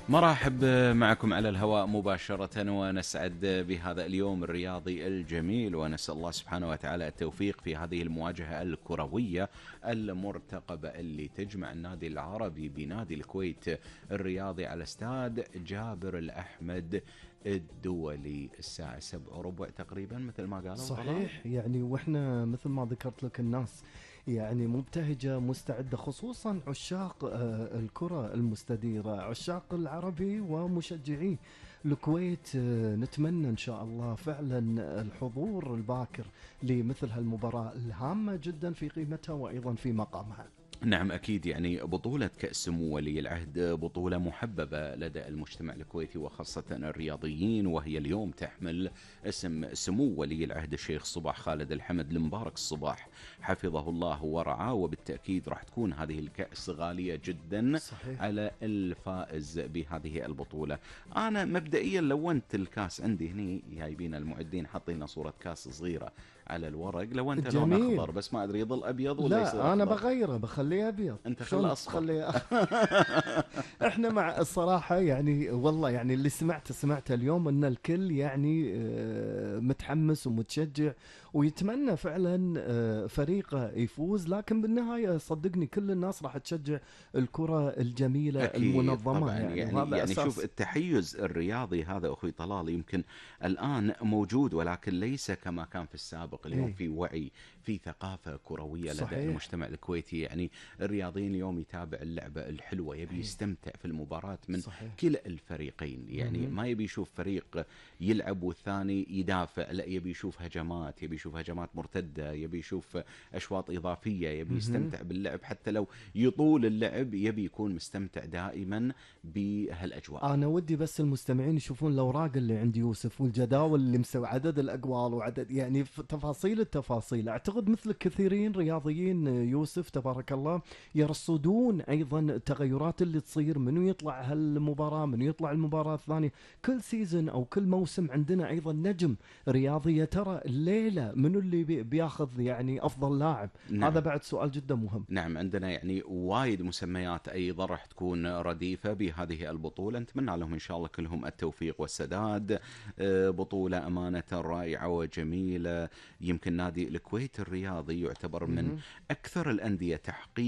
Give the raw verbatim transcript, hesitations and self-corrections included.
مرحب معكم على الهواء مباشرة، ونسعد بهذا اليوم الرياضي الجميل، ونسأل الله سبحانه وتعالى التوفيق في هذه المواجهة الكروية المرتقبة اللي تجمع النادي العربي بنادي الكويت الرياضي على استاد جابر الأحمد الدولي الساعة سبع وربع تقريبا مثل ما قالوا. صحيح، يعني واحنا مثل ما ذكرت لك الناس يعني مبتهجة مستعدة، خصوصا عشاق آه، الكرة المستديرة، عشاق العربي ومشجعي الكويت. آه، نتمنى إن شاء الله فعلا الحضور الباكر لمثل هالمباراة الهامة جدا في قيمتها وأيضا في مقامها. نعم أكيد، يعني بطولة كأس سمو ولي العهد بطولة محببة لدى المجتمع الكويتي وخاصة الرياضيين، وهي اليوم تحمل اسم سمو ولي العهد الشيخ صباح خالد الحمد المبارك الصباح حفظه الله ورعاه، وبالتأكيد راح تكون هذه الكأس غالية جدا صحيح. على الفائز بهذه البطولة. أنا مبدئيا لونت الكاس عندي هني، جايبين المعدين حاطين صورة كاس صغيرة على الورق، لو انت لون جميل. اخضر بس ما ادري يظل ابيض ولا يصير لا، أنا أخضر؟ بغيره بخليه أبيض. انت شلون خله اصفر. تخليه احنا مع الصراحة يعني والله يعني اللي سمعته سمعته اليوم ان الكل يعني آه، متحمس ومتشجع ويتمنى فعلا آه، فريقه يفوز، لكن بالنهاية صدقني كل الناس راح تشجع الكرة الجميلة اكيد المنظمة طبعا، يعني, يعني وهذا يعني شوف أساس. التحيز الرياضي هذا اخوي طلال يمكن الان موجود، ولكن ليس كما كان في السابق. اليوم إيه. في وعي، في ثقافة كروية لدى صحيح. المجتمع الكويتي، يعني الرياضيين اليوم يتابع اللعبة الحلوة، يبي إيه. يستمتع في المباراة من صحيح. كلا الفريقين، يعني مهم. ما يبي يشوف فريق يلعب والثاني يدافع، لا يبي يشوف هجمات، يبي يشوف هجمات مرتدة، يبي يشوف أشواط إضافية، يبي مهم. يستمتع باللعب حتى لو يطول اللعب، يبي يكون مستمتع دائما بهالأجواء. انا ودي بس المستمعين يشوفون الاوراق اللي عند يوسف والجداول اللي مسوي عدد الاقوال وعدد يعني ف- تفاصيل التفاصيل. اعتقد مثل كثيرين رياضيين يوسف تبارك الله يرصدون ايضا التغيرات اللي تصير، منو يطلع هالمباراه منو يطلع المباراه الثانيه. كل سيزن او كل موسم عندنا ايضا نجم رياضي، يا ترى الليله منو اللي بي- بياخذ يعني افضل لاعب. نعم. هذا بعد سؤال جدا مهم. نعم عندنا يعني وايد مسميات أيضا راح تكون رديفة بهذه البطولة، نتمنى لهم إن شاء الله كلهم التوفيق والسداد. آه، بطولة أمانة رائعة وجميلة. يمكن نادي الكويت الرياضي يعتبر من مهم. أكثر الأندية تحقيقا